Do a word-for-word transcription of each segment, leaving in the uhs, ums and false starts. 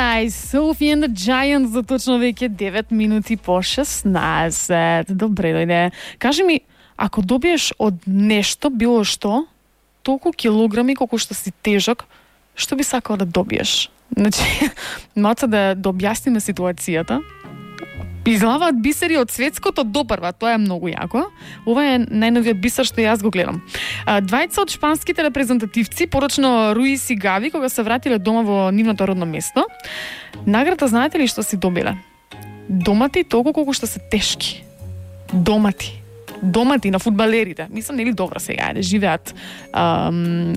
Paradise, Sophie and the Giants, за точно веќе девет минути по шеснаесет. Добре дојде. Кажи ми, ако добиеш од нешто, било што, толку килограми колку што си тежок, што би сакал да добиеш? Значи, маца да, да објасниме ситуацијата. Излаваат бисери од светското до прва, тоа е многу јако. Ова е најновиот бисер што јас го гледам. Двајца од шпанските репрезентативци, порочно Руис и Гави, кога се вратиле дома во нивното родно место, награда знаете ли што си добиле? Домати толку колку што се тешки. Домати. Домати на фудбалерите. Мислам, нели добро сега, да живеат ам,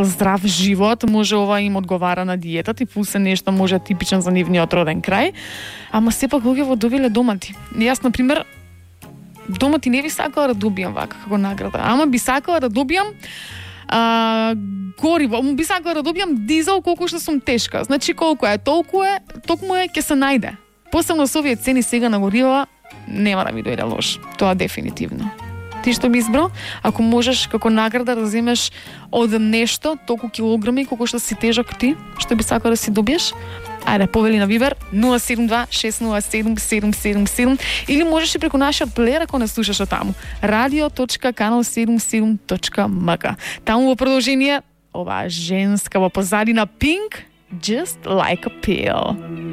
здрав живот, може ова им одговара на диетата и пусе нешто може типичен за нивниот роден крај, ама сепак луѓето добиле домати. Јас, например, домати не би сакала да добијам вака како награда, ама би сакала да добијам а, гориво, би сакала да добијам дизел колку што сум тешка. Значи колку е, толку е, токму е, ќе се најде. Посебно со овие цени сега на горива, нема да ми дојде лош. Тоа дефинитивно. Ти што би избрал? Ако можеш како награда да земеш од нешто толку килограми колку што си тежок ти, што би сакал да си добиеш? Ајде, повели на Вибер нула седум два шест нула седум седум седум седум или можеш и преку нашиот плеер ако не слушаш од таму. радио точка канал седум седум точка ем ка. Таму во продолжение оваа женска во позадина Pink, Just Like a Pill.